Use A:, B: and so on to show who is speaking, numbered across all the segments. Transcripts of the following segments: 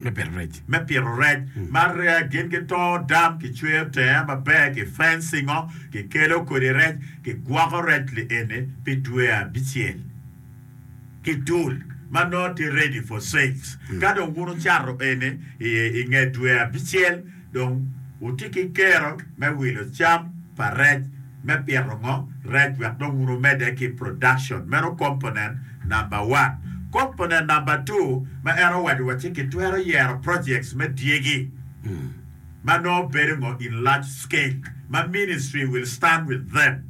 A: Me pito rec.
B: Me pito rec. Ma gin gitongo dam, kicweyo tenge maber, ki fencingo, kikelo kodi rec, kigwoko rec li eni pi dwe abicel ki dul ma nongo tye ready for sales. Ka dong wun wucato eni i nge dwe abicel, Dong wutye ki kero me wilo cam pa rec me pito ngo? Rec wek dong wun wumedde ki production. Meno component number one. Component number two ma en owaco wa ci kitwero yero projects me dyegi ma nongo bedo ngo in large scale ma ministry will stand with them.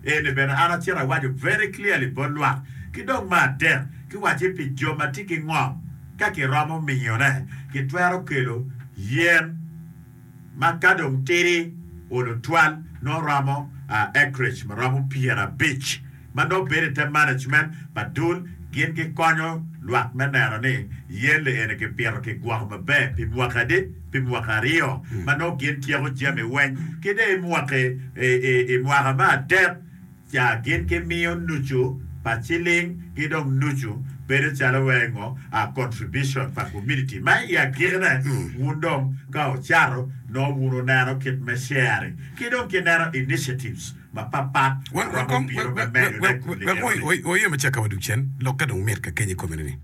B: Eni bene an acito awaco very clearly bot lwak. Ki dong me adek ki waci pi jo ma tye ki ngom. Ka kiromo miyone, kitwero kelo yen ma ka dong tidi olo twal nongo romo acreage ma romo 50 ma nongo bedo i te management pa dul. Gin gikonyo lwak me neno ni yen li eni kipito kigwoko maber pi mwaki adi? Pi mwaki aryo ma nongo gin tyeko jami weng. Ki dong i mwaki i mwaka me adek, Ca gin gimiyo nucu pa ciling ki dong nucu bedo calo wai ngo a contribution pa community ma i agikine wun dong ka wucato nongo wun wuneno kit me sharing ki dong ki neno initiatives mapapat ma romo bino me medo ne kuli
A: Wek
B: enoni.
A: waye macek ka wadug cen, lokke dong mit ka keny i komine ni.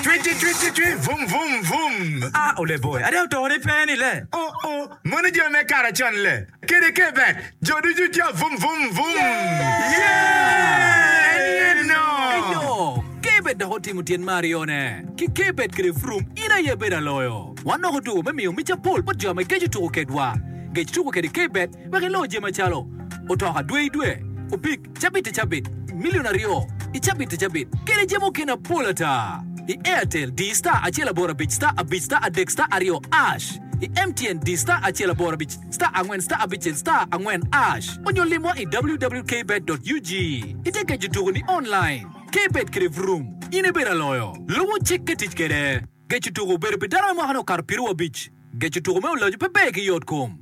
C: Cwi cwi cwi cwi cwi vum vum vum.
D: Ah ole boy, ada oto ni pe ni le.
C: Oh oh, mono jo me kare con le. Kede kebet, jo ducu ca vum vum vum. Yeah! En aye no.
D: Eyo, Kebet dok otimo tyen me aryone. Ki Kebet kede Vroom, in aye ibedo aloyo. Wan dok otuko me miyo mic apol bot jo ma geco tuko kedwa. Gec tuko kede Kebet wek ilo jami macalo, otoka dwe i dwe, opik, Cabit i cabit, milion aryo i cabit i cabit, kede jami mukene apol ata. I Airtel, di star acel aboro abic star abic star adek star aryo ash. I MTN, di star acel aboro abic star angwen star abicel star angwen ash. Onyo limwa i www.kbet.ug. Ite geco tuko ni online. Kbet kede vroom, in ibedo aloyo. Lubo cik ka tic kede. Geco tuko obedo pi dano me mwaka ne okato piru abic. Geco tuko me oloco pe ber ki yot kom.